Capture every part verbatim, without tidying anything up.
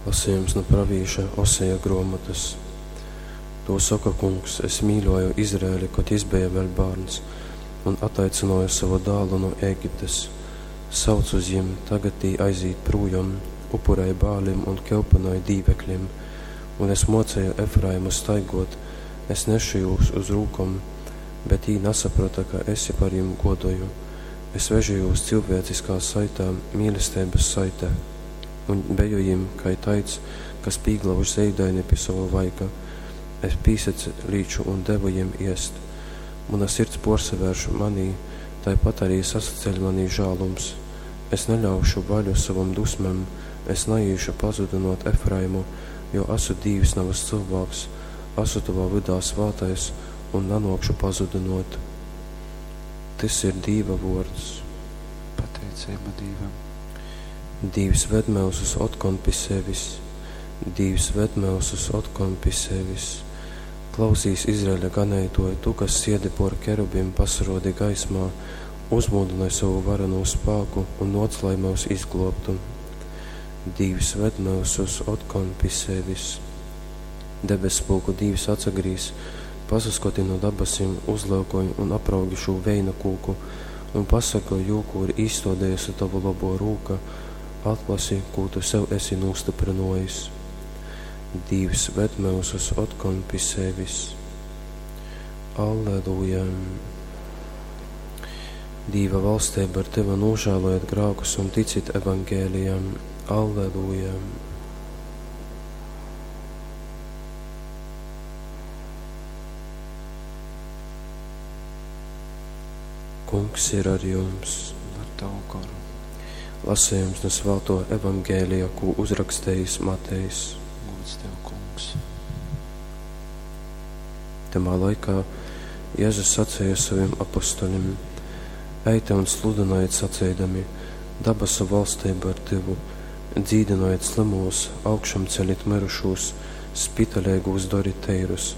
Lasījums nu pravīša Oseja gruomotys. Tū soka Kungs: Es mīļuoju Izraeli, kod jis beja vēļ bārns, un ataicynuoju sovu dālu nu Ēgiptes. Saucu uz jim, tagad tī aizīt prūjom, upurej Baalim un kyupynoj dīveklim. Un es muoceju Efraimu staiguot, es nešu jūs uz rūkom, bet jī nasaprota, ka es par jim guodoju. Es vežu jūs cilvēciskā saitā, mīlesteibys saitē, un beju jim kai taids, kas pīglauž zeidaini pi sova vaiga. Es pīsalīču un devu jim iest. Muna sirds puorsavērš manī, taipat arī sasaceļ manī žālums. Es neļaušu vaļu sovom dusmem, es naīšu pazudynuot Efraimu, jo asu Dīvs, navys cylvāks, asu tovā vydā svātais un nanuokšu pazudynuot. Tys ir Dīva vuords. Pateiceiba Dīvam. Dīvs ved myusus otkon pi sevis. Dīvs ved myusus otkon pi sevis. Klausīs, Izraeļa ganeituoj, tu, kas siedi puor kerubim, pasaruodi gaismā, uzmūdynoj sovu varenū spāku un nuoc, lai myus izgluobtu. Dīvs ved myusus otkon pi sevis. Debesspulku Dīvs atsagrīz, pasaskoti nu dabasim, uzlyukoj un apraugi šū veina kūku un pasorgoj jū, kū ir īstuodējusi tova lobuo rūka, atlasi, kū tu sev esi nūstyprynuojis. Dīvs ved myusus otkon pi sevis. Alleluja! Dīva valsteiba ir tyva, nūžālojiet grākus un ticit evangelijam. Alleluja! Kungs ir ar jums. Un ar tavu goru. Lasījums no Svāto evangēlija, kū uzrakstējis Matejs. Gods tev, Kungs. Tamā laikā Jēzus sacēja saviem apostoļiem: Eite un sludynojiet saceidami: Dabasu valstība ir tyvu, dzīdinojiet slimūs, augšām celit mirušūs, spitaleigūs dorit teirus,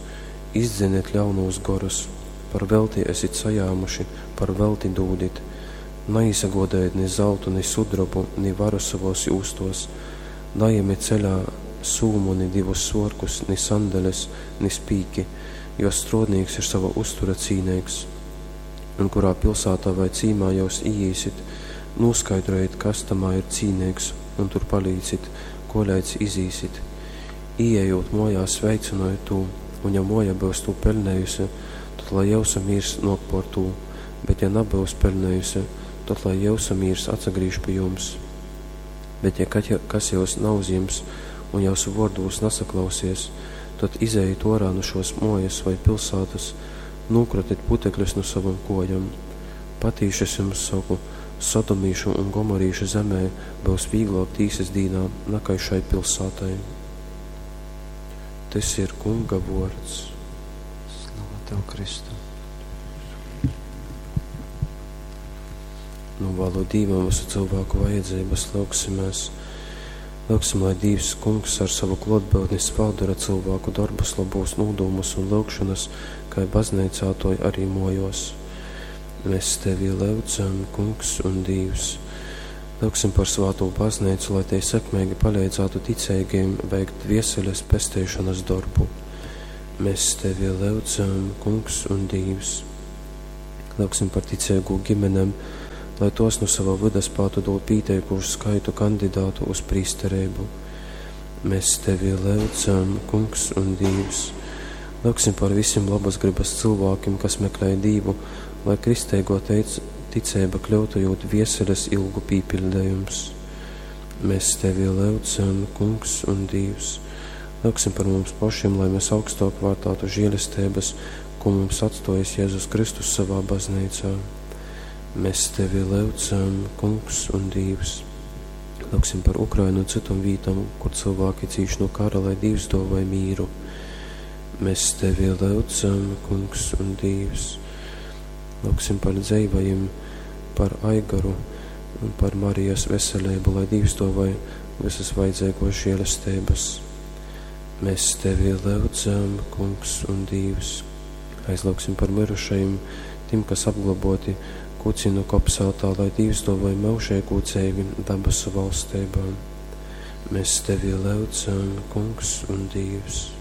izdzeniet ļaunūs gorus, par velti esit sajāmuši, par velti dūdit. Naīsagodējiet ni zeltu, ni sudrobu, ni varu savos jūstos, naejami ceļā sūmu, ni divus svorkus, ni sandeles, ni spīki, jo strodnīks ir sava uztura cīneigs. Un kurā pilsētā vai cīmā jūs īīsit, noskaidrojiet, kas tamā ir cīneigs, un tur palīdzit, koleidz izīsit. Ieejot mojā, sveicinojiet tū, un ja moja byus tū pelnējusi, tad lai jūsu mīrs nok por tū, bet ja nabyus pelnējusi, tad lai jūsu mīrs atsagrīž pie jums. Bet ja kas jūs nauzjims un jūsu vārdūs nesaklausies, tad izejiet orā no šos mojas vai pilsētas, nūkratit putekļus no savam kojam. Patīši es jums saku, Sodomīšu un Gomorīšu zemē būs vieglāk tīsas dīnā nakai šai pilsētai. Tas ir Kunga vārds. Slava tev, Kristu. Novēlu Dīvam visu cilvēku vajadzības, lūgsimies. Lūgsim, lai Dīvs Kungs ar savu klotbūtni spādara cilvēku darbus, labos nūdomus un lūgšanas, kai baznīcā, to arī mojos. Mēs tevi lūdzam, Kungs un Dīvs. Lūgsim par svāto baznīcu, lai tie sekmīgi palīdzētu ticīgiem veikt dvieseles pesteišanas darbu. Mēs tevi lūdzam, Kungs un Dīvs. Lūgsim par ticīgu ģimenēm, lai tos no sava vida spētu dot pieteikušu skaitu kandidātu uz prīsterību. Mēs tevi lūdzam, Kungs un Dīvs. Lūgsim par visiem labas gribas cilvēkiem, kas meklē Dīvu, lai kristēgo teic, ticība kļūtu jūt vieseles ilgu pīpildējums. Mēs tevi lūdzam, Kungs un Dīvs. Lūgsim par mums pašiem, lai mēs augstāk vērtātu žēlestības, ko mums atstojas Jēzus Kristus savā baznīcā. Mēs tevi lūdzam, Kungs un Dīvs. Lūgsim par Ukrainu un citam vītam, kur cilvēki cīš no kara, lai Dīvs dāvāj mīru. Mēs tevi lūdzam, Kungs un Dīvs. Lūgsim par dzeivajiem, par Aigaru un par Marijas veselību, lai Dīvs dāvāj visas vajadzīgos žēlestības. Mēs tevi lūdzam, Kungs un Dīvs. Aizlūgsim par mirušajiem, tiem, kas apglaboti Kucinu kopsātā, lai Dīvs dāvāj mūžīgu dzeivi dabasu valstībā. Mēs tevi lūdzam, Kungs un Dievs.